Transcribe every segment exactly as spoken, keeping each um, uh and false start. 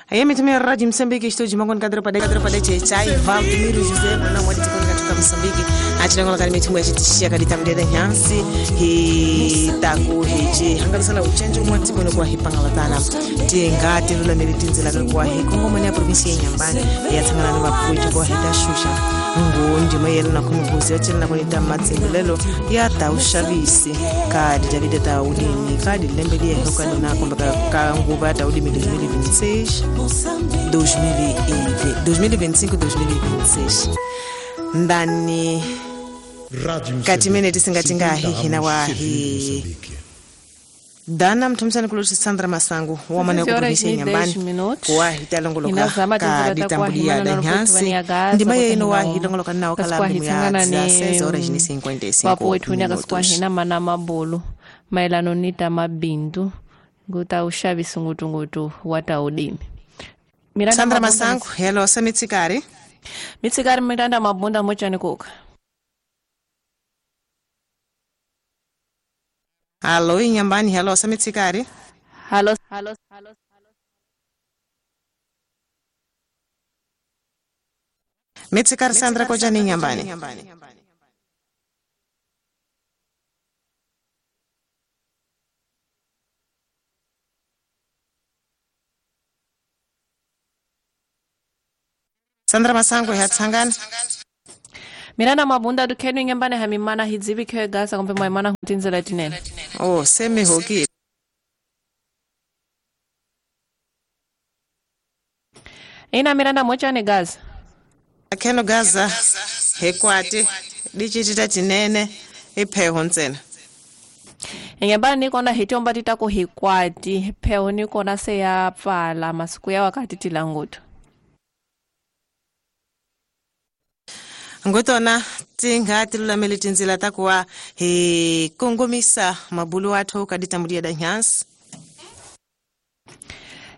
Ayemi Radio Moçambique, estúdio Mangon Kadro Padé Kadro Padé Chai, Valdemiro José, não modi tikoni katuka Moçambique. Atinangola kali mitumbo ya chitishia kali tamdeda nyansi hi taku hichi hangalusala uchenjo mwa tikoni kwa hipangalatana. Tinga tilula militinzela kwa hi Kongo mwana provinsi ya Nyambani ya tsangana na mapuicho kwa hitashusha. Ngu ndima yelo na kumubuzi ya chila na kunita matsimulelo ya taushavisi kadi Davide taulimi kadi lembeli ya hoka na kumba ka nguva taulimi dois mil e vinte e seis dois mil e vinte e cinco dois mil e vinte e seis ndani katimene tisingatinga hihina wahi dana mtumsani kuluti Sandra Masangu wamane kuprovinsia Nyambani wahi talongoloka ka ditambulia da nyansi ndima yeino wahi longoloka nao kala ya dezesseis horas e cinquenta e cinco wapo wetu nyaka hina mana mabolo maelano nita mabindu nguta ushavisi ngutungutu wata udimi. Miranda Sandra Mabunda Masangu, hello, samitsikari. Mitsikari Miranda Mabunda mochani kuka. Hello, Nyambani, hello, samitsikari. Hello, hello, hello. Mitsikari Sandra kojani Nyambani. Sandra Masangu hatsangana. Miranda Mabunda dukenu Nyambani hamimana hidzibi kwe gasa kumbe maimana hutinzela tinene. Oh, semi hoki. Ina Miranda mocha ni gaza. Akeno gaza hekwati dichitita tinene ipheho ntsena. Nyambani niko na hitomba titako hikwati pheho niko na se ya pfala masiku ya wakati tilangutu. Ngotona tinga tilulamele tinzila takuwa he kongomisa mabulu athu kaditambulia da nyansi.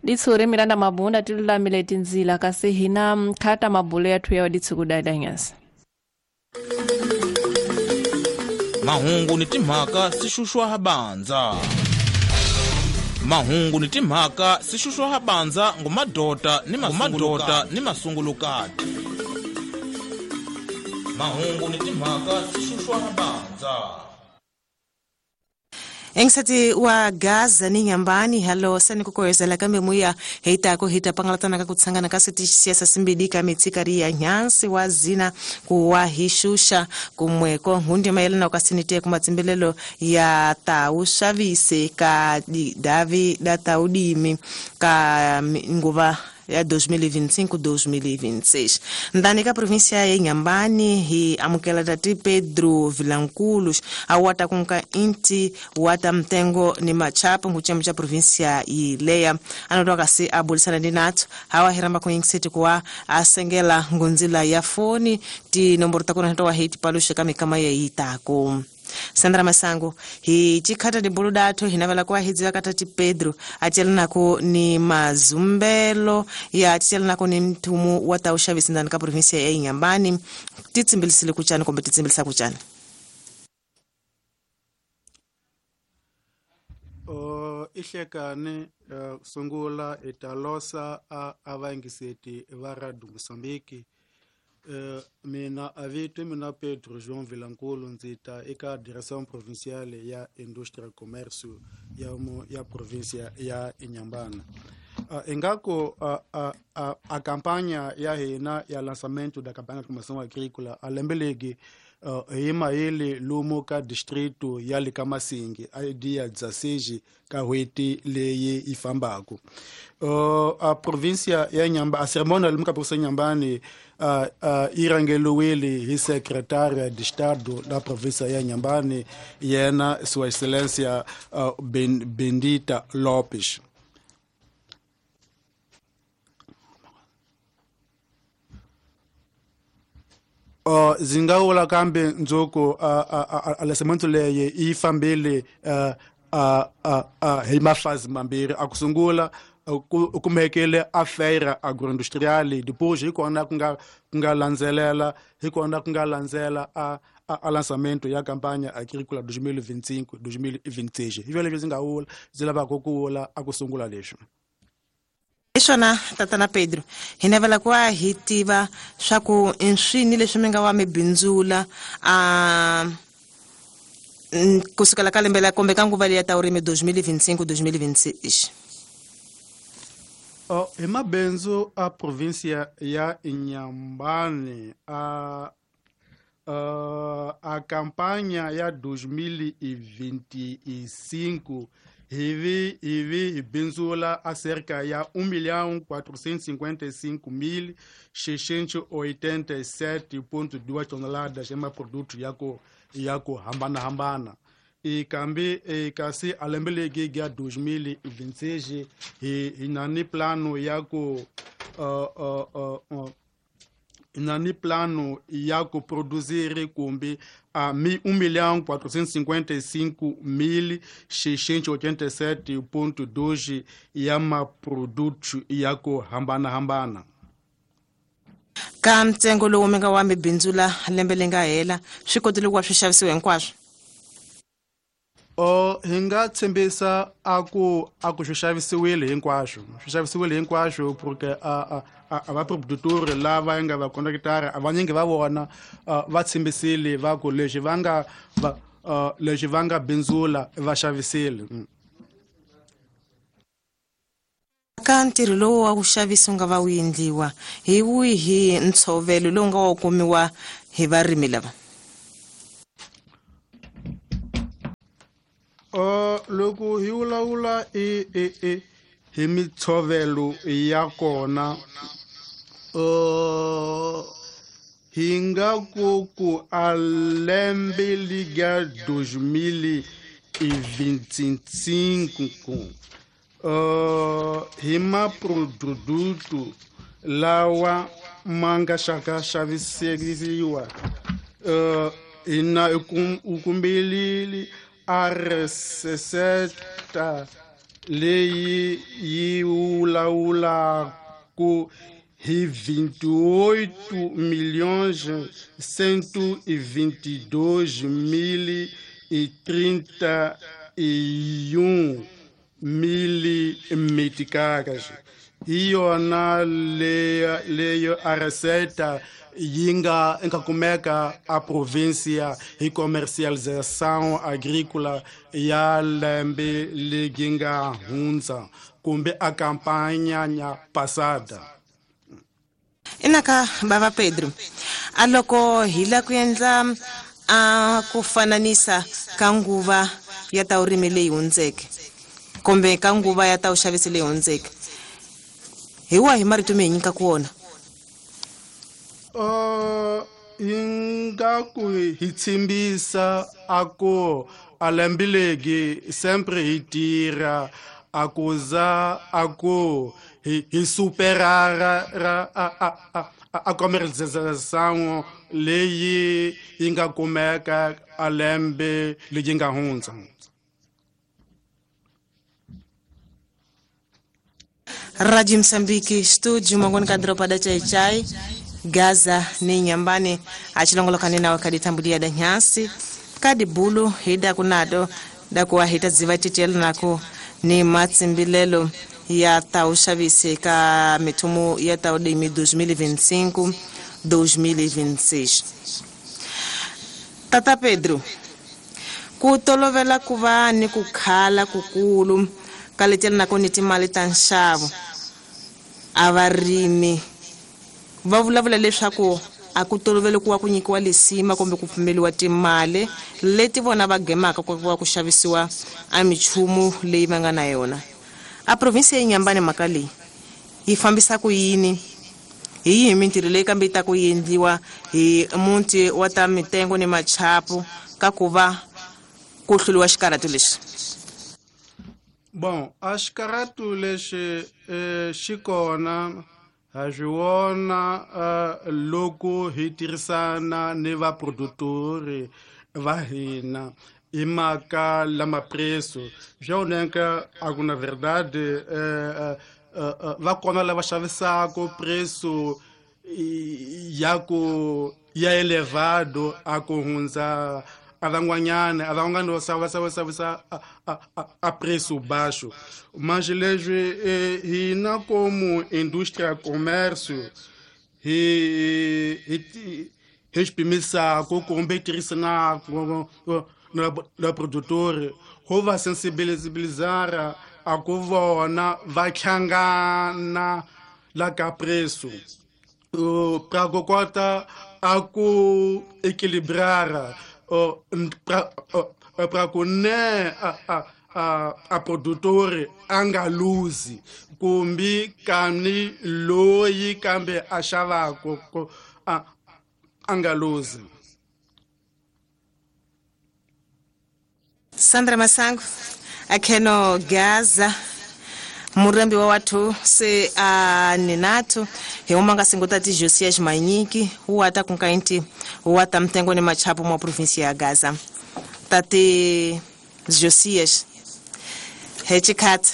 Ditsuri Miranda Mabunda tilulamile tinzila kasi hina mkhata mabulu yathu ya ditsukuda da nyansi. Mahungu ni timhaka sishushwa habanza. Mahungu ni timhaka sishushwa habanza ngumadota ni mamadota ni masungulukati. Mahungu ni timhaka sishushwa habanza. Engsati wa Gaza ni Nyambani halo sani kukoyezela kambe muya heitako hita pangalatana kakutsangana kasiti siasa simbidika mitsikari ya nyansi wa zina kuwahishusha kumweko hundi maelena ukasinite kumatsimbelelo ya taushavise ka davi dataudimi ka nguva ya dois mil e vinte e cinco dois mil e vinte e seis. Ndani ka província ya Nyambani hi amukela tati Pedro Vilanculos awata kunka inti wata mtengo ni machapo nguchemu cha província ileya anotoka kasi abulisana ndi nathu hawa hiramba kuingiseti kuwa asengela ngunzila ya foni ti nomboro takuna ntowa hiti palusha kama kama ya itako. Sandra Masangu hi chikhata ni bulu dathu hinavela kwa hidziwa katati Pedro atielana ni mazumbelo ya atielana ni mthumu wa taushavisi ndani ka provinsia ya Nyambani titsimbilisile kuchani kumbe titsimbilisa kuchani. O ihlekane uh, sungula italosa a avangiseti va Radio Moçambique. Uh, mina avito mina Pedro João Vilanculo nzita eka direction provinciale ya industria commerce ya mo ya provincia ya Inhambane. Uh, engako uh, uh, uh, a campanha ya hina ya lançamento da campanha de promoção agrícola a lembelegi uh, ima ele lumo ka distrito ya Likamasingi a dia dezesseis ka hweti leye ifambako. Uh, a província ya Inhambane a cerimônia lumo ka província Inhambane uh, uh, irangeluwili hi secretária de Estado da província ya Inhambane yena sua excelência uh, ben, Bendita Lopes. Uh, zingaula kambe nzoko uh, uh, uh, lançamento leye ifambile uh, uh, uh, uh, hi mafazi mambirhi akusungula kumekele a feira agroindustrial depois hi kona kunga kunga landzelela hi kona kunga landzela a a lançamento ya campanha agrícola dois mil e vinte e cinco dois mil e vinte e seis. Hi leswi ndzi nga vula ndzi lavaka ku vula a ku sungula leswi. Hi swona tatana Pedro, hi navela ku va hi tiva swa ku i swini leswi mi nga wa mi bindzula a kusukela ka lembe la kumbe ka nguva leyi ya ta vurimi dois mil e vinte e cinco, dois mil e vinte e seis. Oh, hi mabindzu a província ya Inhambane a uh, a campanha ya dois mil e vinte e cinco hivi hivi hi bindzula a cerca ya um milhão quatrocentos e cinquenta e cinco mil seiscentos e oitenta e sete ponto duas toneladas ya maproduto ya ku ya ku hambanahambana. E kambe e kasi a lembe legi ya dois mil e vinte e seis hi hi na ni plano ya ku uh, uh, uh, uh, na ni plano ya ku produzir kumbe a um milhão quatrocentos e cinquenta e cinco mil seiscentos e oitenta e sete ponto dois ya maproduto ya ku hambanahambana. Ka ntsengo lowu mi nga wa mi bindzula lembe leri nga hela swi kotile ku va swi xavisiwa hinkwaswo? O hi nga tshembisa a ku a ku swi xavisiwile hinkwaswo, swi xavisiwile hinkwaswo porque a a a vaproductori lava nga va contractara a vanyingi va vona va tshembisile va ku leswi va nga va leswi va nga bindzula va xavisile. Ka ntirho lowu wa ku xavisa wu nga va wu endliwa hi wihi ntshovelo lowu nga wa kumiwa hi varimi lava? Uh, loko hi vulavula i i i hi mitshovelo ya kona uh, hi nga ku ku a lembe liga dois mil e vinte e cinco uh, hi maproduto lawa ma nga xaka xaviseriwa uh, hina u kumbelile a receta leyi yi vulavulaku hi vinte e oito milhões cento e vinte e dois mil e trinta e um mil meticais. Hi yona leyo leyo a receita yi nga nga kumeka a província hi comercialização agrícola ya lembe leri nga hundza kumbe a campanha passada. Inaka bava Pedro, a loko hi la ku endla a ku fananisa ka nguva ya ta vurimi leyi hundzeke kumbe ka nguva ya ta vuxavisi leyi hundzeke, hi wahi marito mi hi nyikaka wona? Uh, hi nga ku hi tshembisa a ku a lembe legi sempre hi tirha a ku za a ku hi hi superar ra a a a a comercialização leyi yi nga kumeka a lembe leyi nga hundza. Rádio Moçambique, estúdio mangoni ka dropa da Chai Chai Gaza ni Inhambane achilongolokane nawe kaditambulia da nyasi kadi bulu hida kunado da kuwa hita ziva titelo nako ni matsimbilelo ya tauxavisi ka mitumu ya taudimi dois mil e vinte e cinco, dois mil e vinte e seis. Tata Pedro, ku tolovela ku va ni ku khala kukulu ka letela nako ni timali ta nxavo a varimi va vulavula leswaku a ku tolovele ku wa ku nyikiwa lisima kumbe ku pfumeliwa timali leti vona va gemaka ku va ku xavisiwa a michumu leyi va nga na yona. A provinsi ya Inhambane mhaka leyi yi fambisa ku yini? Hi yihi mintirho leyi kambe yi ta ku endliwa hi muti wa ta mitengo ni machapu ka ku va ku hluriwa xikarhato lexi? Bom, a xikarhato lexi eh, xi kona ha swi vona uh, loko hi tirhisana ni vaproductori va hina hi mhaka lama preço swa oneka a ku na verdade eh, eh, eh, va kona lava xavisaka preço ya ku ya elevado a ku hundza a van'wanyana a van'wana va xava xava xavisa a preço baixo. Mas leswi hina como indústria comércio hi hi hi xipimisaka kumbe tirhisanaka na na produtor ho va sensibilizar a ku vona va hlangana la ka preço pra ku kota a ku equilibrar pra ku ne a a a produtor a nga luzi kumbe kani loyi kambe a xavaka a a nga luzi. Sandra Masango akheno Gaza murembi wa wathu se a ninathu hi uma nga singo tati Josias Manyiki wa ta kunkainti wa ta mtengo ni machapo mwa província ya Gaza. Tati Josias hechikhat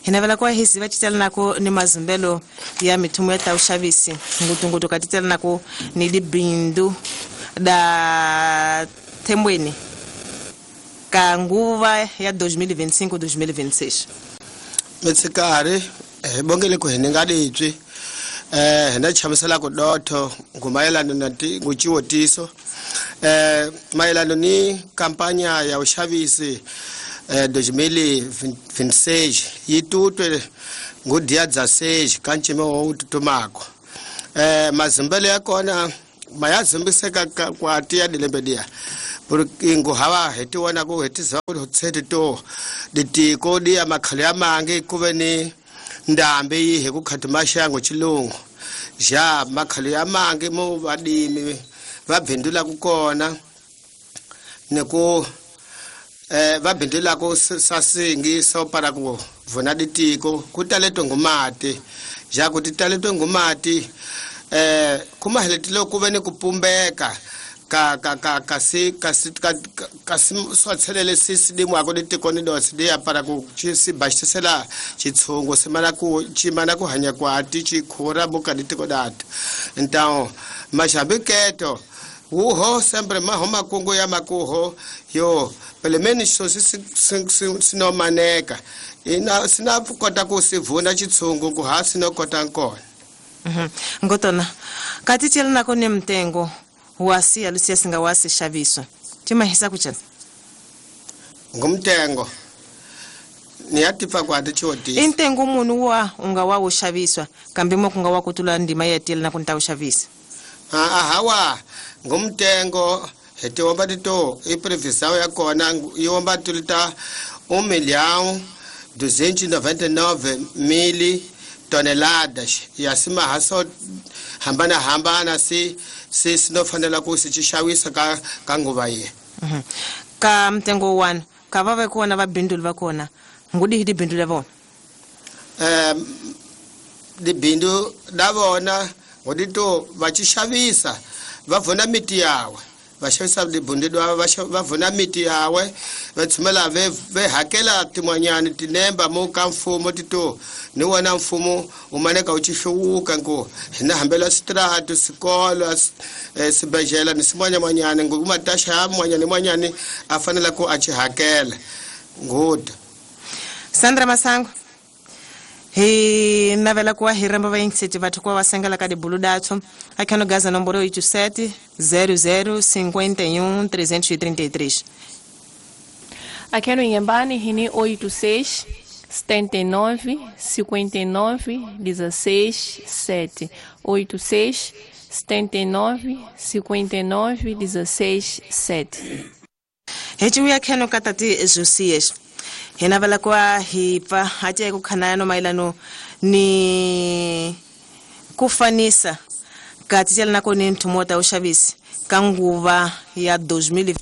hinavela kwa hisi va titela nako ni mazumbelo ya mithumo ya ta ushavisi ngutungutu ka titela nako ni libindu da thembweni ka nguva ya dois mil e vinte e cinco dois mil e vinte e seis. Mitsikari hi bongele ku hi ni nga ditwi eh hina chamisela ku dotho ngumayelana na nguchiwotiso eh mayelana ni kampanya ya ushavisi eh dois mil e vinte e seis yi tutwe ngu dia dezesseis kanchime wo tutumako eh mazimbele ya kona mayazimbiseka kwa tia dilembe dia porque nguhava hi tiwona ku hetisa ku tsheti to ditiko dia makhale ya mangi ku ve ni ndambe yi hi ku khati maxango chilungu ja makhale ya mangi mo vadimi va bindula ku kona ni ku eh va bindula ku sasingi so para ku vona ditiko ku tale tongomati ja ku ti tale tongomati eh kuma heletile ku ve ni ku pumbeka ka ka ka ka si ka si ka ka si swa tshelele si si di mwako di tikoni do si di ya para ku chi si bashisela chitshungu si mana ku chi mana ku hanya kwa ti chi khura buka di tiko data. Então mashabiketo uho sempre maho makungu ya makuho yo pelo menos so si si si no maneka ina sina kota ku si vuna chitshungu ku ha sino kota nkona. Mhm. Ngotona kati tshela nako ne mtengo wasi alusia singa wasi xaviswa timahisa kuchana ngumtengo ni yatifa kwa tichoti intengo munhu wa unga wa uxaviswa kambe mo kunga wa kutula ndima ya tela na kunta uxavisa a hawa ngumtengo hetiwomba tito i previsão ya kona iwomba tulita um milhão duzentos e noventa e nove mil toneladas ya simahaso hambana hambana si si sinofanela ku si xavisa ka ka nguva ye. Mhm. Ka mtengo one ka va va kona va bindulu va kona ngudi hi dibindu la vona eh dibindu la vona ngodi to va ci xavisa va vona miti yawe va xavisa dibindu va va vona miti yawe va tshumela ve ve hakela tin'wanyani tinemba mo ka mfumo tito ni wona mfumo u maneka u ci hluvuka nku hina hambela switiratu swikolo swibedhlele ni swin'wanyamanyani ngu mataxa ya mwanyani mwanyani a fanele ku a ci hakela nguda. Sandra Masango hi navela kuwa hi ramba vayingiseti vathu kuwa va sengela ka dibulu datso akhano Gaza nomboro oito sete zero zero cinquenta e um trezentos e trinta e três. Akhano Inhambane hini oito seis setenta e nove cinquenta e nove dezesseis sete oito seis setenta e nove cinquenta e nove dezesseis sete. Heciuya kheno ka tati Josias hi navela kuwa hi pfa hati ku khanaya mayelano ni ku fanisa ka titela nako ni nthumo ta uxavisi ka nguva ya dois mil e